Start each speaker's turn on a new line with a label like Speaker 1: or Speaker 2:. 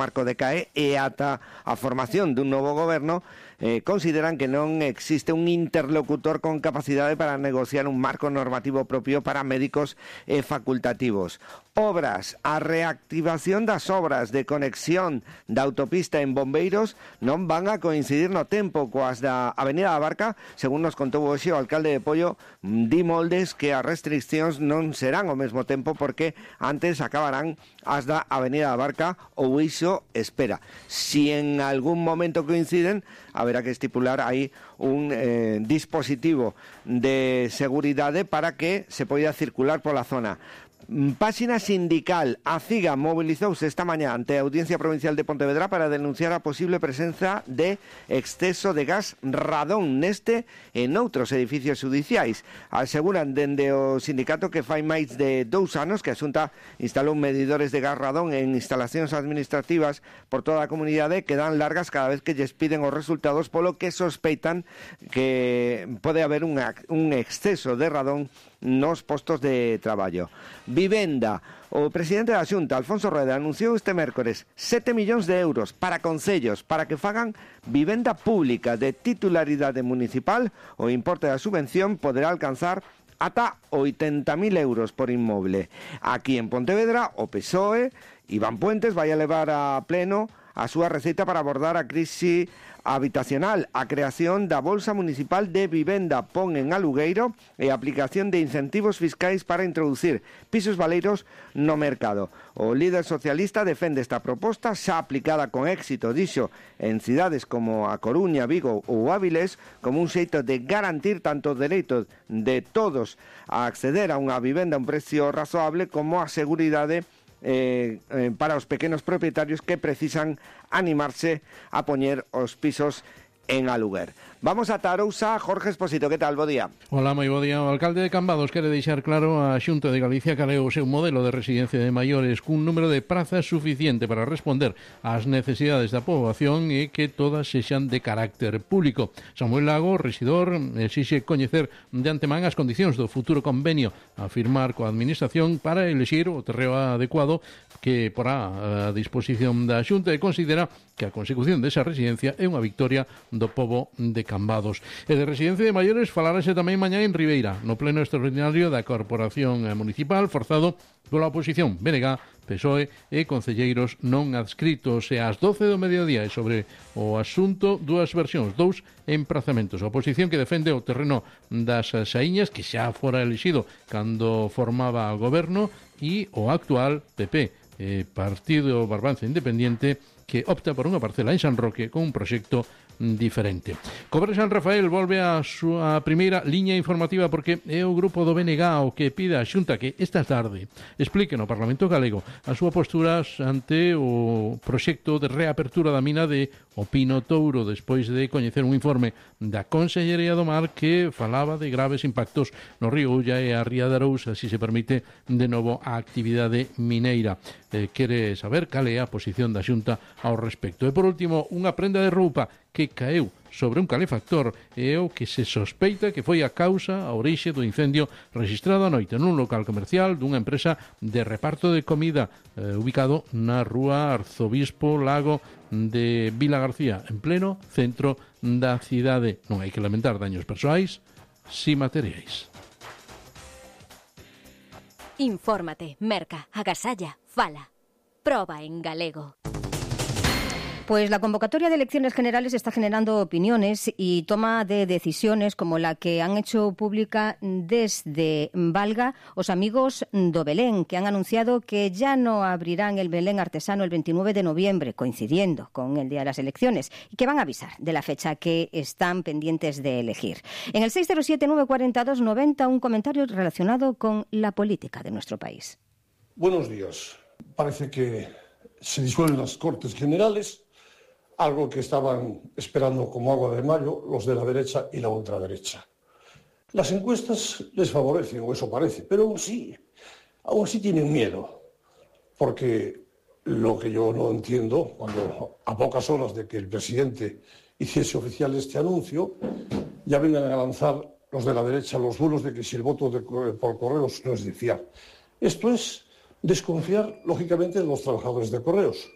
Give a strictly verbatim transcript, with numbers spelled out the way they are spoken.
Speaker 1: marco decae e ata a formación dun novo goberno eh, consideran que non existe un interlocutor con capacidade para negociar un marco normativo propio para médicos e facultativos. Obras, a reactivación das obras de conexión da autopista en Bombeiros non van a coincidir no tempo coas da Avenida da Barca, según nos contou hoxe o alcalde de Pollo, Di Moldes, que as restriccións non serán ao mesmo tempo porque antes acabarán as da Avenida da Barca ou iso espera. Si en algún momento coinciden, haberá que estipular aí un eh, dispositivo de seguridade para que se poida circular pola zona. Páxina sindical. A CIGA movilizouse esta mañá ante a Audiencia Provincial de Pontevedra para denunciar a posible presenza de exceso de gas radón neste e noutros edificios judiciais. Aseguran dende o sindicato que fai máis de dous anos que a Xunta instalou medidores de gas radón en instalacións administrativas por toda a comunidade que dan largas cada vez que lles piden os resultados, polo que sospeitan que pode haber un, un exceso de radón nos postos de traballo. Vivenda. O presidente da Xunta, Alfonso Rueda, anunciou este mércores sete millóns de euros para concellos para que fagan vivenda pública de titularidade municipal. O importe da subvención poderá alcanzar ata oitenta mil euros por inmoble. Aquí en Pontevedra, o P S O E, Iván Puentes, vai a levar a pleno a súa receita para abordar a crise habitacional, a creación da Bolsa Municipal de Vivenda, pon en alugueiro e a aplicación de incentivos fiscais para introducir pisos baleiros no mercado. O líder socialista defende esta proposta xa aplicada con éxito, dixo, en cidades como a Coruña, Vigo ou Áviles, como un xeito de garantir tanto o dereito de todos a acceder a unha vivenda a un precio razoable como a seguridade Eh, eh, para os pequenos propietarios que precisan animarse a poñer os pisos en aluguer. Vamos a Tarousa. Jorge Esposito, que tal? Bo día.
Speaker 2: Hola, moi bo día. O alcalde de Cambados quere deixar claro a Xunta de Galicia cal é o seu modelo de residencia de maiores cun número de prazas suficiente para responder ás necesidades da poboación e que todas sexan de carácter público. Samuel Lago, residor, exixe coñecer de antemán as condicións do futuro convenio a firmar coa administración para elexir o terreo adecuado que porá a disposición da Xunta e considera que a consecución desa residencia é unha victoria do pobo de Cambados. E de residencia de maiores falarase tamén mañá en Ribeira, no pleno extraordinario da Corporación Municipal, forzado pola oposición B N G, P S O E e concelleiros non adscritos. E ás doce do mediodía e sobre o asunto dúas versións, dous emprazamentos. A oposición que defende o terreno das Saíñas, que xa fora elixido cando formaba o goberno, e o actual P P, eh, Partido Barbanza Independiente, que opta por unha parcela en San Roque con un proxecto diferente. Cobre San Rafael volve a súa primeira liña informativa porque é o grupo do B N G o que pide a Xunta que esta tarde explique no Parlamento Galego a súa postura ante o proxecto de reapertura da mina de O Pino Touro, despois de coñecer un informe da Consellería do Mar que falaba de graves impactos no río Ulla e a Ría de Arousa, se se permite de novo a actividade mineira. Eh, quere saber cal é a posición da Xunta ao respecto. E por último, unha prenda de roupa que caeu sobre un calefactor e o que se sospeita que foi a causa, a orixe do incendio registrado a noite nun local comercial dunha empresa de reparto de comida eh, ubicado na rúa Arzobispo Lago de Vila García, en pleno centro da cidade. Non hai que lamentar daños persoais, si materiais.
Speaker 3: Infórmate, merca, agasalla, fala. Proba en galego.
Speaker 4: Pues la convocatoria de elecciones generales está generando opiniones y toma de decisiones como la que han hecho pública desde Valga os amigos do Belén, que han anunciado que ya no abrirán el Belén artesano el veintinueve de noviembre, coincidiendo con el día de las elecciones, y que van a avisar de la fecha que están pendientes de elegir. En el seis cero siete nueve cuatro dos nueve cero, un comentario relacionado con la política de nuestro país.
Speaker 5: Buenos días. Parece que se disuelven las Cortes Generales, algo que estaban esperando como agua de mayo los de la derecha y la ultraderecha. Las encuestas les favorecen, o eso parece, pero aún sí, aún sí tienen miedo, porque lo que yo no entiendo, cuando a pocas horas de que el presidente hiciese oficial este anuncio, ya vengan a lanzar los de la derecha los bulos de que si el voto de, por correos no es de fiar. Esto es desconfiar, lógicamente, de los trabajadores de correos.